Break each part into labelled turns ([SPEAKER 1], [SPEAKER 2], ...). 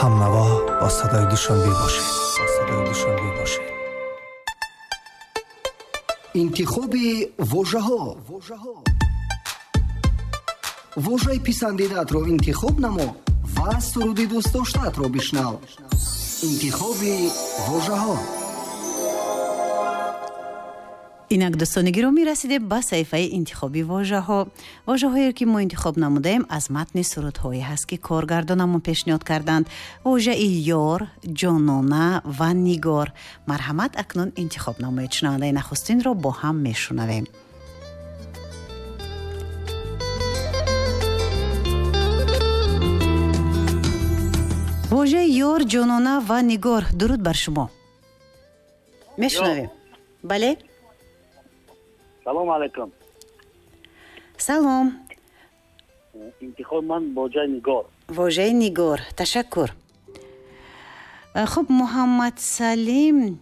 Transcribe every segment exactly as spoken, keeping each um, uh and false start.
[SPEAKER 1] ҳамнаво бо садои Душанбе бошед. Бо садои Душанбе бошед.
[SPEAKER 2] Интихоби вожаҳо. Вожаи писандидаатро интихоб намо ва суруди дӯстдоштаатро бишнав. Интихоби вожаҳо.
[SPEAKER 3] Инак дӯстони гиромӣ, расидем ба саҳифаи интихоби вожаҳо. Вожаҳое ки мо интихоб намудаем аз матни сурудҳое ҳаст ки коргардонамон пешниҳод карданд. Вожаи ёр, ҷонона ва нигор. Марҳамат, акнун интихоб намоед. Шунавандаи нахустинро бо ҳам мешунавем. Вожаи ёр, ҷонона ва нигор. Дуруд бар шумо. Мешунавем. Бале?
[SPEAKER 4] Салом алейкум.
[SPEAKER 3] Салом.
[SPEAKER 4] Интихоб ман вожаи нигор.
[SPEAKER 3] Вожаи нигор. Ташаккур. Хуб, Муҳаммад Салим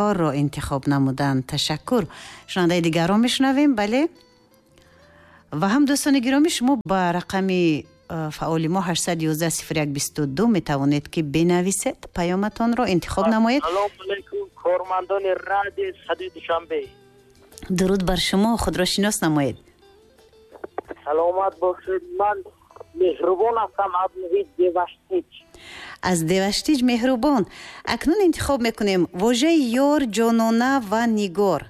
[SPEAKER 3] ёрро интихоб намуданд. Ташаккур. Шунавандаи дигарро мешунавем. Бале? Ва ҳам дӯстони гиромӣ, шумо ба рақами фаъоли мо ҳаштсаду ёздаҳ сифр як бисту ду метавонед ки бинависед, паёматонро интихоб намоед.
[SPEAKER 5] Салом алейкум, кормандони радиои Садои Душанбе.
[SPEAKER 3] Дуруд бар шумо, худро шинос намоед.
[SPEAKER 5] Саломат бошед. Ман Меҳрубон ҳастам аз муҳити Деваштич.
[SPEAKER 3] Аз Деваштич Меҳрубон. Акнун интихоб мекунем вожаи ёр, ҷонона ва нигор.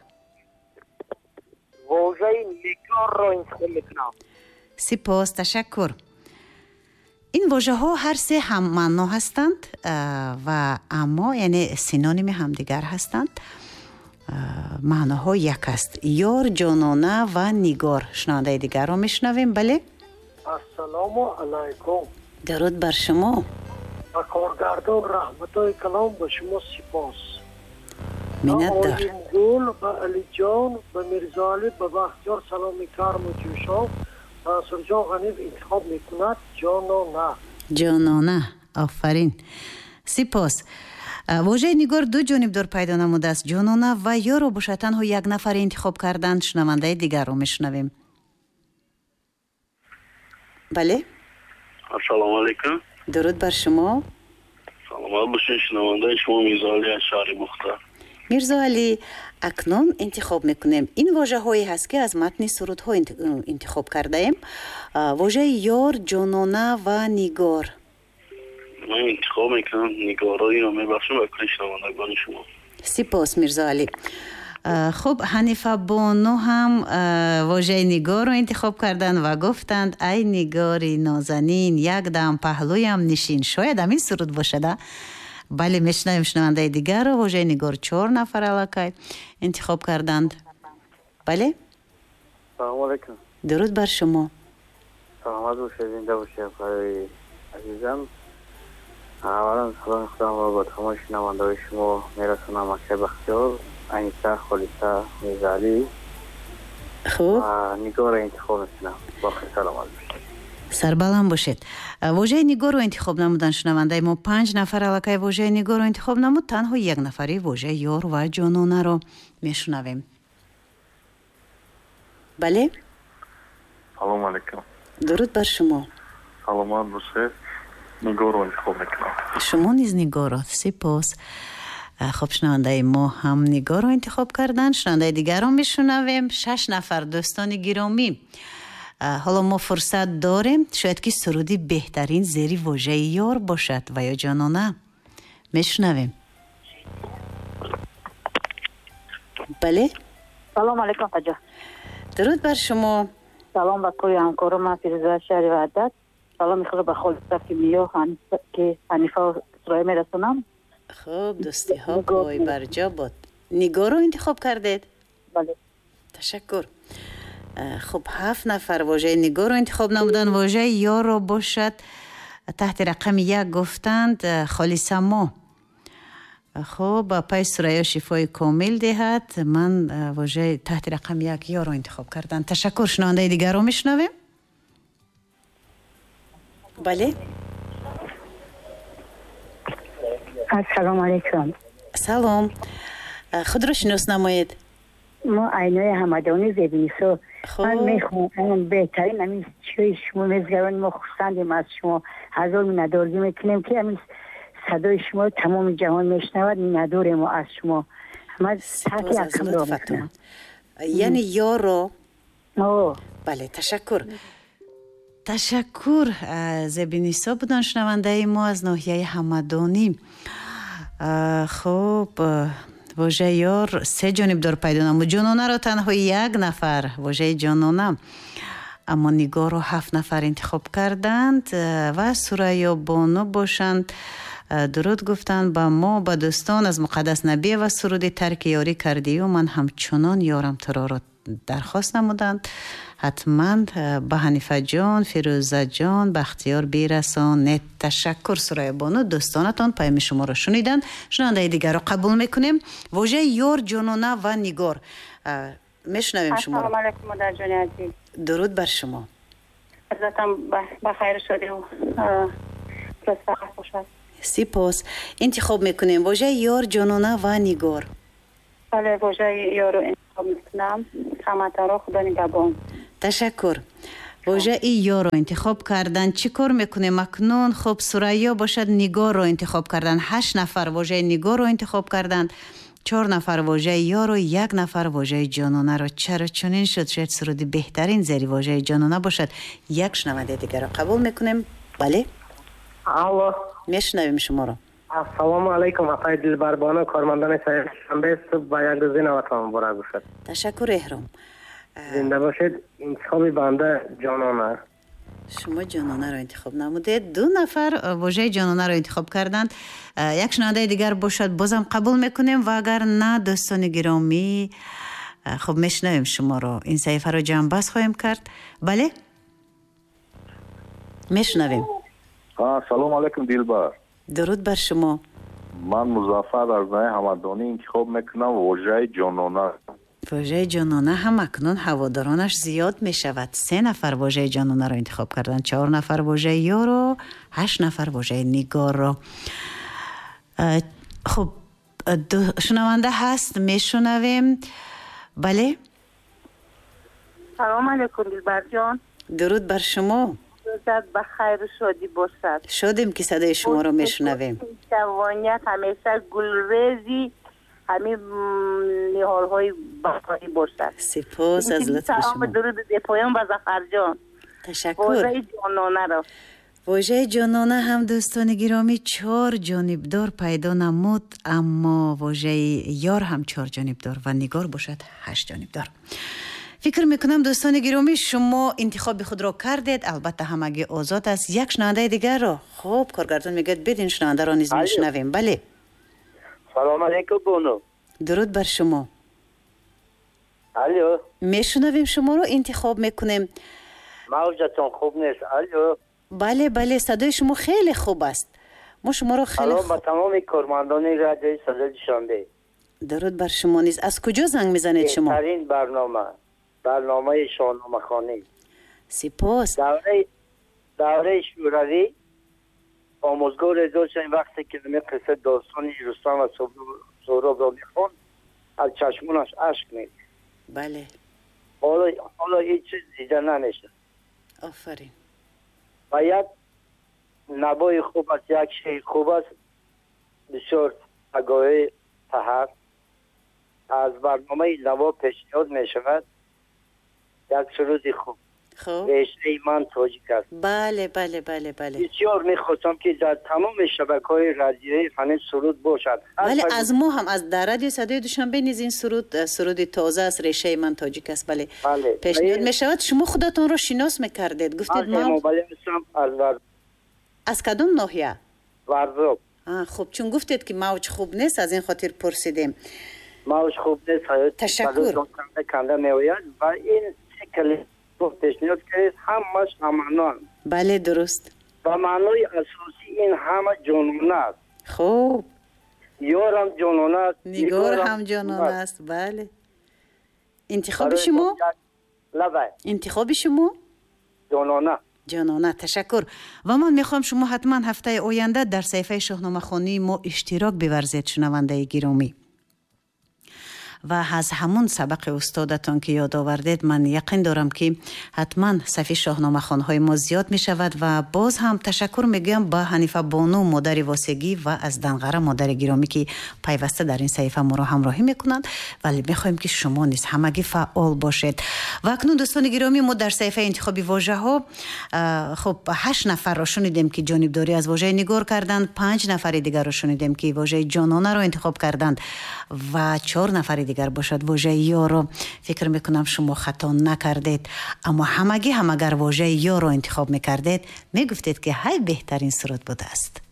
[SPEAKER 5] Вожаи нигорро интихоб мекунам.
[SPEAKER 3] Сипос, ташаккур. Ин вожаҳо ҳар се ҳаммаъно ҳастанд ва аммо яъне синоними ҳамдигар ҳастанд. Маъноҳо як аст. Ёр, ҷонона ва нигор. Шунавандаи дигарро мешунавем. Бале?
[SPEAKER 6] Ассалому алайкум.
[SPEAKER 3] Дуруд бар шумо.
[SPEAKER 6] Ба коргардон раҳматои калом, ба шумо сипос.
[SPEAKER 3] Миннатдор.
[SPEAKER 6] Оимгул, ба Алиҷон, ба Мирзоалӣ, ба Бахтиёр саломи карму ҷӯшон. Мансурҷон Ғаниев интихоб мекунад ҷонона.
[SPEAKER 3] Ҷонона. Офарин. Сипос. Вожаи нигор ду ҷонибдор пайдо намудааст. Ҷонона ва ёрро бошад танҳо як нафар интихоб карданд. Шунавандаи дигарро мешунавем. Бале?
[SPEAKER 4] Ассалому алайкум.
[SPEAKER 3] Дуруд бар шумо.
[SPEAKER 4] Саломат бошед. Шунавандаи шумо Мирзоалӣ аз шаҳри Бухта.
[SPEAKER 3] Мирзоалӣ, акнун интихоб мекунем. Ин вожаҳое ҳаст ки аз матни сурудҳо интихоб кардаем. Вожаи ёр, ҷонона ва нигор.
[SPEAKER 4] Ман интихоб мекунам нигорро, инро мебахшам ба кулли шунавандагони шумо.
[SPEAKER 3] Сипос, Мирзоалӣ. Хуб, Ҳанифа бону ҳам вожаи нигорро интихоб карданд ва гуфтанд: ай нигори нозанин, як дам паҳлӯям нишин. Шояд ҳамин суруд бошад, а? Бале, мешунавем шунавандаи дигарро. Вожаи нигор чор нафар аллакай интихоб карданд. Бале?
[SPEAKER 5] Салому алайкум.
[SPEAKER 3] Дуруд бар шумо.
[SPEAKER 5] Саломат бошед, зинда бошед, барои азизам. Аввалан саломи худамро ба тамоми шунавандаҳои шумо мерасонам. Акай Бахтиёр, Аниса, Холиса, Мирзоалӣ.
[SPEAKER 3] Хуб,
[SPEAKER 5] нигорро интихоб мекунам. Боқӣ саломат бошед.
[SPEAKER 3] Сарбаланд бошед. Вожаи нигорро интихоб намуданд шунавандаи мо. Панҷ нафар аллакай вожаи нигорро интихоб намуд. Танҳо як нафари вожаи ёр ва ҷононаро мешунавем. Бале?
[SPEAKER 7] Салому алайкум.
[SPEAKER 3] Дуруд бар шумо.
[SPEAKER 7] Саломат бошед. Нигорро интихоб мекунам.
[SPEAKER 3] Шумо низ нигорро. Сипос. Хуб, шунавандаи мо ҳам нигорро интихоб карданд. Шунавандаи дигарро мешунавем. Шаш нафар дӯстони гиромӣ. Ҳоло мо фурсат дорем, шояд ки суруди беҳтарин зери вожаи ёр бошад ва ё ҷонона. Мешунавем. Бале?
[SPEAKER 8] Салом алейкум, Хаҷа.
[SPEAKER 3] Дуруд бар шумо.
[SPEAKER 8] Салом ба кулли ҳамкорон. Ман Фирӯза шаҳри Ваҳдат. Саломи худро ба Холиса, Кимиё, ки Ҳанифа Сураё мерасонам.
[SPEAKER 3] Хуб, дӯстиҳо пой барҷо буд. Нигорро интихоб кардед?
[SPEAKER 8] Бале.
[SPEAKER 3] Ташаккур. Хуб, ҳафт нафар вожаи нигорро интихоб намуданд. Вожаи ёрро бошад таҳти рақами як гуфтанд Холиса мо. Хуб, пай Сураё шифои комил диҳад. Ман вожаи таҳти рақами як ёрро интихоб кардам. Ташаккур. Шунавандаи дигарро мешунавем. Бале?
[SPEAKER 8] Ассалому алайкум.
[SPEAKER 3] Салом. Худро шинос намоед.
[SPEAKER 9] Мо Айнои Ҳамадонӣ Зебинисо. Ман мехоҳам беҳтарин ҳамин чизи шумо мезгарон, мо хурсандем аз шумо. Ҳазор миннатдорӣ мекунем, ки ҳамин садои шумо тамоми ҷаҳон мешунавад. Миннатдорем мо аз шумо. Ман
[SPEAKER 3] сипос аз лутфатон. Яъне ёро? Бале, ташаккур. Ташаккур. Зебинисо буданд шунавандаи мо аз ноҳияи Ҳамадонӣ. Хуб, вожаи ёр се ҷонибдор пайдо намуд. Ҷононаро танҳо як нафар, вожаи ҷонона, аммо нигорро ҳафт нафар интихоб карданд ва Сурайё Бону бошанд. Дуруд гуфтанд ба мо, ба дӯстон аз Муқаддас Набиева суруди тарки ёрӣ кардию ман ҳамчунон ёрам туроро дархост намуданд. Ҳатман ба Ҳанифаҷон, Фирӯзаҷон, Бахтиёр бирасонед. Ташаккур Сурайё Бону, дӯстонатон паёми шуморо шуниданд. Шунавандаи дигарро қабул мекунем. Вожаи ёр, ҷонона ва нигор. Мешунавем шуморо.
[SPEAKER 8] Ассалому алайкум, модарҷони азиз.
[SPEAKER 3] Дуруд бар шумо.
[SPEAKER 8] Рӯзатон ба хайру шодӣ бошад.
[SPEAKER 3] Сипос. Интихоб мекунем вожаи ёр, ҷонона ва нигор.
[SPEAKER 8] Бале, вожаи ёрро интихоб мекунам. Ҳаматонро Худо нигаҳбон.
[SPEAKER 3] Ташаккур. Вожаи ёрро интихоб кардан. Чӣ кор мекунем акнун? Хуб, Сурайё бошад нигорро интихоб кардан. Ҳашт нафар вожаи нигорро интихоб карданд, чор нафар вожаи ёрро, як нафар вожаи ҷононаро. Чаро чунин шуд? Шояд суруди беҳтарин зери вожаи ҷонона бошад. Як шунавандаи дигарро қабул мекунем. Бале?
[SPEAKER 10] Алло.
[SPEAKER 3] Мешунавем шуморо.
[SPEAKER 10] Ассалому алайкум, апаи Дилбарбону, кормандони Шанбе, субҳ ба як рӯзи наватон муборак бошад.
[SPEAKER 3] Ташаккур, Эҳром.
[SPEAKER 10] Зинда бошед. Интихоби банда ҷонона.
[SPEAKER 3] Шумо ҷононаро интихоб намудед. Ду нафар вожаи ҷононаро интихоб карданд. Як шунавандаи дигар бошад, бозам қабул мекунем ва агар на, дӯстони гиромӣ, хуб мешунавем шуморо. Ин саҳифаро ҷамъбаст хоҳем кард. Бале? Мешунавем.
[SPEAKER 11] Салом алайкум, Дилбар.
[SPEAKER 3] Дуруд бар шумо.
[SPEAKER 11] Ман Музаффар аз ноҳияи Ҳамадонӣ интихоб мекунам вожаи ҷонона.
[SPEAKER 3] Вожаи ҷонона ҳам акнун ҳаводоронаш зиёд мешавад. Се нафар вожаи ҷононаро интихоб карданд, чор нафар вожаи ёрро, ҳашт нафар вожаи нигорро. Хуб, шунаванда ҳаст, мешунавем. Бале?
[SPEAKER 8] Салом алайкум, Дилбарҷон.
[SPEAKER 3] Дуруд бар шумо.
[SPEAKER 8] Рӯзат ба хайру шодӣ бошад.
[SPEAKER 3] Шодем ки садои шуморо мешунавем.
[SPEAKER 8] Ҷавоният ҳамеша гулрези ҳамин ниҳолҳои баҳорӣ бошад.
[SPEAKER 3] Сипос аз лутфи шумо.
[SPEAKER 8] Дуруд бепоён ба Зафарҷон.
[SPEAKER 3] Ташаккур.
[SPEAKER 8] Вожаи ҷононаро.
[SPEAKER 3] Вожаи ҷонона ҳам дӯстони гиромӣ чор ҷонибдор пайдо намуд, аммо вожаи ёр ҳам чор ҷонибдор ва нигор бошад ҳашт ҷонибдор. Фикр мекунам дӯстони гиромӣ шумо интихоби худро кардед. Албатта ҳамагӣ озод аст. Як шунавандаи дигарро, хуб, коргардон мегӯяд бидин шунавандаро низ мешунавем. Бале.
[SPEAKER 5] Салом алайкум, Бону.
[SPEAKER 3] Дуруд бар шумо.
[SPEAKER 5] Алло.
[SPEAKER 3] Мешунавем шуморо, интихоб мекунем.
[SPEAKER 5] Мавҷатон хуб нест. Алло.
[SPEAKER 3] Бале, бале, садои шумо хеле хуб аст. Мо шуморо хеле
[SPEAKER 5] Салом ба тамоми кормандони радиои Садои Душанбе.
[SPEAKER 3] Дуруд бар шумо низ. Аз куҷо занг мезанед шумо?
[SPEAKER 5] Беҳтарин барнома, барномаи шоҳномахонӣ.
[SPEAKER 3] Сипос.
[SPEAKER 5] Давраи давраи Шӯравӣ омӯзгоре доштем, вақте ки ҳамин қисса достони Рустам ва Суҳробро мехонд, аз чашмонаш ашк мерехт.
[SPEAKER 3] Бале.
[SPEAKER 5] Ҳоло ҳоло ҳеҷ чиз дида намешавад.
[SPEAKER 3] Офарин.
[SPEAKER 5] Ва як навои хуб аст, як шеъри хуб аст, бисёр пагоҳи саҳар аз барномаи наво пешниҳод мешавад як суруди хуб.
[SPEAKER 3] Хуб.
[SPEAKER 5] Решаи ман тоҷик аст.
[SPEAKER 3] Бале, бале, бале, бале.
[SPEAKER 5] Бисёр мехостам ки дар тамоми шабакаҳои радиоӣ ҳамин суруд бошад.
[SPEAKER 3] Бале, аз мо ҳам, аз дар радиои Садои Душанбе низ ин суруд, суруди тоза аст, решаи ман тоҷик аст. Бале, пешниҳод мешавад. Шумо худатонро шинос мекардед, гуфтед ман
[SPEAKER 5] аз Варзоб.
[SPEAKER 3] Аз кадом ноҳия?
[SPEAKER 5] Варзоб.
[SPEAKER 3] Хуб, чун гуфтед ки мавҷ хуб нест, аз ин хотир пурсидем.
[SPEAKER 5] Мавҷ хуб нест,
[SPEAKER 3] ташаккур.
[SPEAKER 5] Канда канда меояд ва ин се калима пешниҳод кардед, ҳамаш ҳамаъноанд.
[SPEAKER 3] Бале, дуруст.
[SPEAKER 5] Ба маънои асосӣ ин ҳама ҷонона аст.
[SPEAKER 3] Хуб.
[SPEAKER 5] Ёрам ҷонона аст,
[SPEAKER 3] нигор ҳам ҷонона аст. Бале. Интихоби шумо?
[SPEAKER 5] Лабай.
[SPEAKER 3] Интихоби шумо?
[SPEAKER 5] Ҷонона.
[SPEAKER 3] Ҷонона, ташаккур. Ва ман мехоҳам шумо ҳатман ҳафтаи оянда дар саҳифаи шоҳномахонии мо иштирок биварзед, шунавандаи гиромӣ. Ва аз ҳамун сабақи устодатон ки ёд овардед, ман яқин дорам, ки ҳатман сафи шоҳномахонҳои мо зиёд мешавад. Ва боз ҳам ташаккур мегӯям ба Ҳанифа бону, модари Восегӣ ва аз Данғара, модари гиромӣ, ки пайваста дар ин саҳифа моро ҳамроҳӣ мекунанд. Вале мехоҳем, ки шумо низ ҳамагӣ фаъол бошед. Ва акнун, дӯстони гиромӣ, мо дар саҳифаи интихоби вожаҳо, хуб, ҳашт нафарро шунидем, ки ҷонибдорӣ аз вожаи нигор карданд, панҷ нафари дигарро шунидем, ки вожаи ҷононаро интихоб карданд ва чор нафари дигар бошад вожаи ёро. Фикр мекунам, шумо хато накардед, аммо ҳамагӣ ҳам агар вожаи ёро интихоб мекардед, мегуфтед, ки ҳай беҳтарин суруд будааст.